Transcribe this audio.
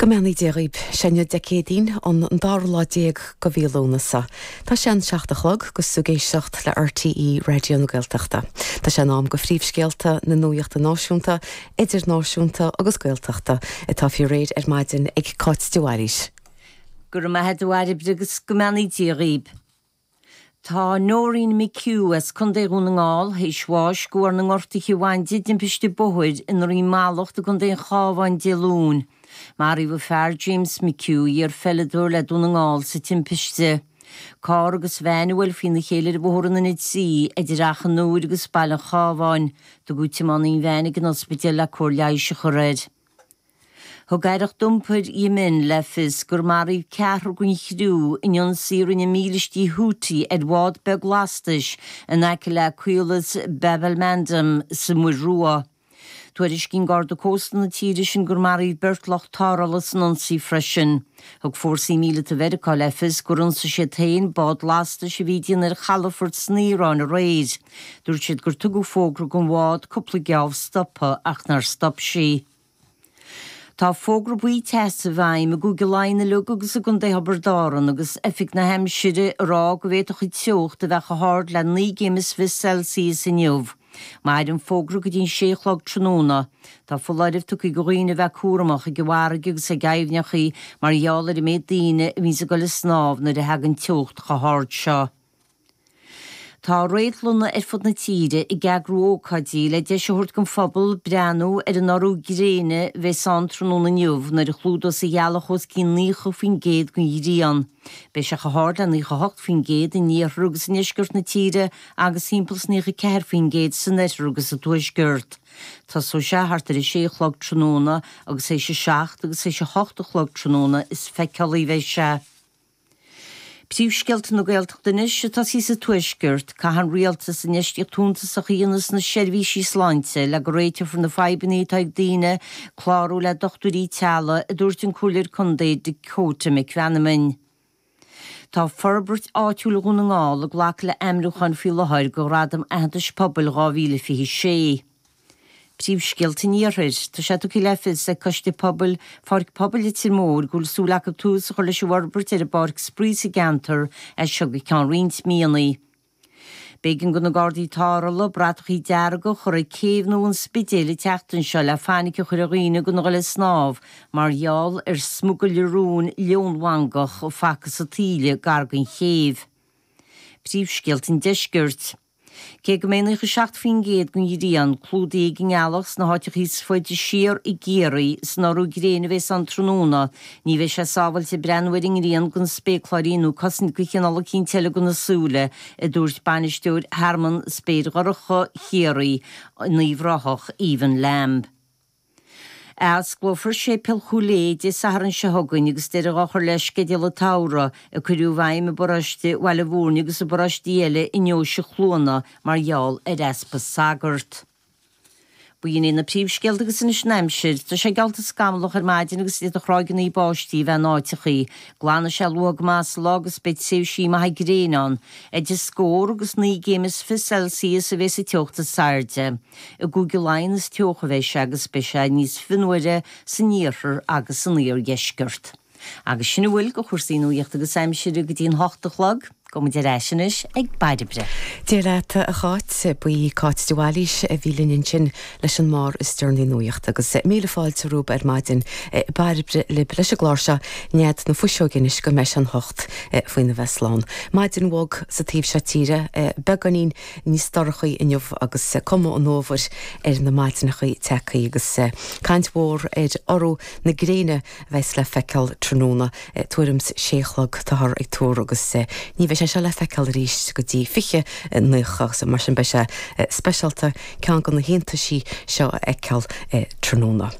Go mbeannaí Dia dhaoib. Sé inniu Dé Céadaoin, an dara lá déag go mhí Lúnasa. Tá sé an 7 a chlog agus tú ag éisteacht le RTÉ Raidió na Gaeltachta. Tá sé in am go phríomhscéalta na nuaíochta náisiúnta, idirnáisiúnta agus Gaeltachta atá faoi réir ar maidin ag Cáit de Bhailís. Go raibh maith a't a Bhairbre agus go mbeannaí Dia dhaoib. Tá Noreen McHugh as Contae Dhún na nGall théis bháis de bharr na ngortuithe a bhain di i dtimpiste bóthair i nDroim Mallacht i gContae an Chabháin Dé Luain. Maraíodh a fear James McHugh, iar-pheileadóir le Dún na nGall, sa timpiste. Carr agus veain a bhuail faoina chéile ar Bhóthar an N3 idir Achadh an Iúir agus Baile an Chabháin. Tugadh tiománaí an veain ag an ospidéal le cóir leighis a chur air. Thug Aireacht Iompair Yemen le fios gur maraíodh ceathrar den chriú in ionsaí a rinne mílístí Houthi ar bhád beag lastais in aice le caolas Bab el-Mandeb sa Mhuir Rua. Tuairiscíonn Garda Cósta na tíre sin gur maraíodh beirt lucht tarrthála san ionsaí freisin. Thug fórsaí míleata Mheiriceá le fios gur ionsaigh siad féin bád lastais a bhí ag déanamh ar chalafort san Iaráin aréir. Dúirt siad gur tugadh fógra don bhád cúpla geábh stopadh ach nár stop sí. Tá fógra buí teasa i bhfeidhm i gCúige Laighean uilig agus i gContae Thiobraid Árann agus Oifig na hAimsire ag rá go bhféadfadh an teocht a bheith chomh hard le 19 gcéim is Celsius inniu. Mairfidh an fógra go dtí an sé a chlog tráthnóna. Tá foláireamh tugtha do dhaoine a bheith cúramach ag an bhfarraige agus ag aibhneachaí mar gheall ar an méid daoine a bhíonns ag dul ag snámh nuair a thagann teocht chomh hard seo. Tá réadlanna ar fud na tíre ag eagrú ócáidí le deis a thabhairt don phobal breathnú ar an urú gréine a bheas ann tráthnóna inniu nuair a chlúdós an ghealach os cionn 90% den ghrian. Beidh sé chomh hard le 98% in iarthar agus i ndeisceart na tíre agus timpeall is 94% san oirthear agus sa tuaisceart. Tosóidh sé thart ar a sé a chlog tráthnóna agus théis a seacht agus théis a hocht a chlog tráthnóna is feiceálaí a bheidh sé. Príomhscéalta na Gaeltachta anois, ag tosaí sa Tuaisceart. Caithfidh an Rialtas infheistíocht shuntasach a dhéanamh sna seirbhísí sláinte le go réiteofar na fadhbanna atá ag daoine clárú le dochtúirí teaghlaigh, a dúirt an Comhairleoir Contae Dakota McManamon. Tá Forbairt Áitiúil Dhún na nGall ag glacadh le ainmniúcháin faoi láthair do Ghradam Aitheantais Pobail 2026. Príomhscéalta an Iarthair. Tá sé tugtha le fios ag Coiste Pobail Pháirc Pobail Leitir Móir go bhfuil súil acu tús a chur leis an bhforbairt ar an bpáirc spraoi sa gceantar as seo go ceann roinnt míonna. B'éigean do na Gardaí Tarrthála bratachaí dearga a chur ag céibh nua an Spidéil an tseachtain seo le fainic a chur ar dhaoine gan a dhul ag snámh mar gheall ar smugairle róin leonmhangach a facthas sa taoille gar don chéibh. Príomhscéalta an Deiscirt. Cé go mbeidh 97% den ghrian clúdaithe ag an ngealach sna háiteacha is faide siar i gCiarraí san urú gréine a bheas ann tráthnóna, ní bheidh sé sábháilte breathnú ar an ngrian gan spéacláirí nó cosaint de chineál eicínt eile do na súile, a dúirt bainisteoir Thearmann Spéir Dhorcha Chiarraí in Uíbh Ráthach, Aoibheann Lambe. Athosclófar Séipéal Chúil Aodha Dé Sathairn seo chugainn agus deireadh á chur le sceideal an tsamhraidh a cuireadh i bhfeidhm i bparóiste Bhaile Mhúirne agus i bparóistí eile i ndeoise Chluana mar gheall ar easpa sagart. B'in iad na príomhscéalta agus anois an aimsir. Tá sé geallta scamallach ar maidin agus d'fhéadfadh ráigeanna báistí a bheith in áiteachaí. Glanfaidh sé luath go maith sa lá agus beidh tréimhsí maithe gréine ann. Idir scór agus 19 gcéim Celsius a bheas an teocht is airde. I gCúige Laighean is teocha a bheidh sé agus beidh sé níos fionnuaire san iarthar agus san iardheisceart. Agus sin a bhfuil de chúrsaí nuaíochta agus aimsire go dtí an hocht a chlog. Gabhfaidh muid ar ais anois ag Bairbre. Dia leat a Cháit. Ba í Cáit de Bhailís a bhí linn ansin leis an mbarr is deireanaí nuaíochta agus míle fáilte romhaibh ar maidin. Bairbre libh leis an gclár seo Nead na Fuiseoige anois go mbeidh sé an hocht faoina bheith slán. Maidin bhog sa taobh seo tíre, beagáinín níos dorchaí inniu agus cuma an fhómhair ar na maidineacha tagtha agus caint mhór ar urú na gréine a bheas le feiceáil tráthnóna tuairim 's sé a chlog táthar ag tuar agus ní bheidh sé seo le feiceáil arís go dtí 2090 agus mar sin beidh sé speisialta ceann de na hiontaisí seo a fheiceáil tráthnóna.